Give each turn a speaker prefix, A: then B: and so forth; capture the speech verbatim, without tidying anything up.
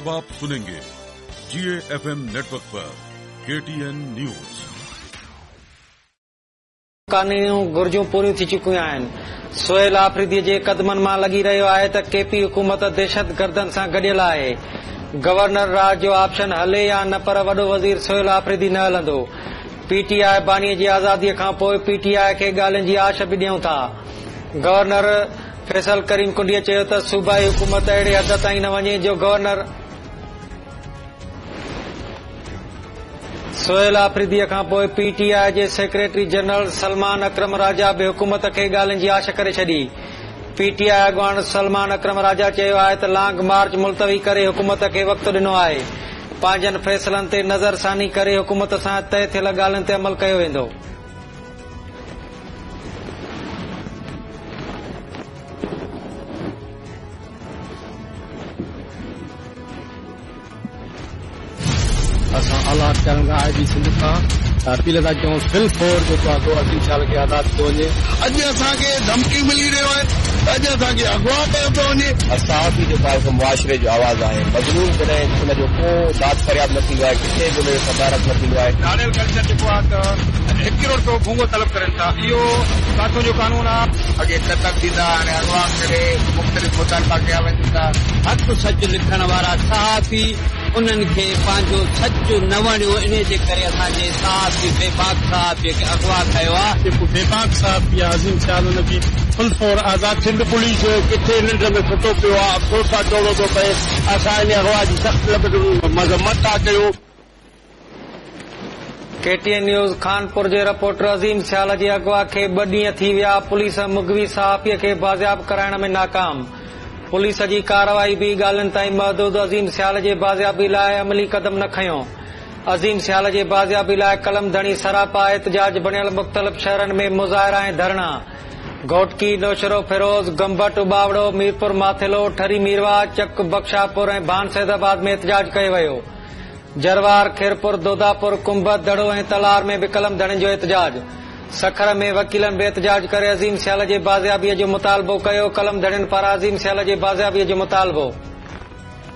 A: अब आप सुनेंगे जी A F M network पर के टी एन न्यूज।
B: कानूनी घुर्जूं पूरियूं थी चुकियूं आहिनि। सोहेल आफरीदी जे कदमनि मां लॻी रहियो आहे त केपी हुकूमत दहशतगर्दनि सां गॾियल आहे। गवर्नर राज जो ऑप्शन हले या न, पर वॾो वज़ीर सोहेल आफरीदी न हलंदो। पीटीआई बानी जी आज़ादीअ खां पोइ पीटीआई खे ॻाल्हियुनि जी आश बि ॾियूं था। गवर्नर फैसल करीम कुंडीअ चयो त सूबाई हुकूमत अहिड़े हद ताईं न वञे जो गवर्नर सोहेल आफरीदीअ खां पोइ पीटीआई जे सेक्रेटरी जनरल सलमान अकरम राजा बि हुकूमत खे ॻाल्हियुनि जी आश करे छॾी। पीटीआई अॻवान सलमान अकरम राजा चयो आहे त लॉन्ग मार्च मुलतवी करे हुकूमत खे वक़्तु ॾिनो आहे। पंहिंजनि फ़ैसिलनि ते नज़रसानी करे हुकूमत सां तय थियल ॻाल्हियुनि ते अमल कयो वेंदो।
C: असां आला अख़्तियारनि खां आई जी सिंध खां अपील था कयूं फिल फोर जेको आहे अज़ीम सियाल खे आज़ाद कयो वञे।
D: अॼु असांखे धमकी मिली रहियो आहे, अॼु असांखे अॻवा कयो पियो वञे।
E: सहाफ़ी जेको आहे मुआशिरे जो आवाज़ आहे। मज़लूम जॾहिं हुनजो को दाद फरियाद न थींदो आहे, किथे बि हुनजो सदारत न थींदो आहे।
F: धाड़ियल कल्चर जेको आहे त हिकु करोड़ रुपयो भूंगो तलब करनि था, इहो काथों जो कानून आहे।
G: अॻे क़तल थींदा, हाणे अॻवा करे मुख़्तलिफ़ मुतालबा कया वञनि था।
H: हक़ सच लिखण वारा सहाफ़ी उन्हनि खे पंहिंजो सच न वणियो, इन जे करे असांजे सहाफ़ी बेबाक सहाफ़ीअ खे अॻवा कयो आहे।
C: जेको बेबाक सहाफ़ी आहे अज़ीम सियाल, हुनखे फुल फोर आज़ाद। सिंध पुलिस किथे निंड में सुतो पियो आहे, अफ़सोस सां चवणो थो पए। असां इन अॻवा जी सख़्त मज़म्मत था कयूं।
B: के टी एन न्यूज़ खानपुर जे रिपोर्टर अज़ीम सियाल जे अॻवा खे ॿ ॾींहं थी विया। पुलिस मुग़वी सहाफ़ीअ खे बाज़ियाब कराइण में नाकाम। पुलिस जी कार्रवाई बि ॻाल्हियुनि ताईं महदूद। अज़ीम सियाल जे बाज़ियाबी लाइ अमली कदम न खयो। अज़ीम सियाल जे बाज़ियाबी लाइ कलम धणी सरापा एहतजाज बणियल मुख़्तलिफ़ शहरनि में मुज़ाहिरा ऐं धरणा। घोटकी, नौशरो फिरोज़, गंबट, उबावड़ो, मीरपुर माथिलो, ठरी मीरवा, चक बख्शापुर ऐं भान सैदाबाद में एहतजाज कयो वियो। जरवार, खैरपुर, दोदापुर, कुंभ, दड़ो ऐं तलार में बि कलम धणियुनि जो एहतजाज। सखर में वकीलनि बि एहतजाज करे अज़ीम सियाल जे बाज़ियाबीअ जो मुतालबो कयो। कलम धणियुनि पारां अज़ीम सियाल जे बाज़ियाबीअ जो मुतालबो।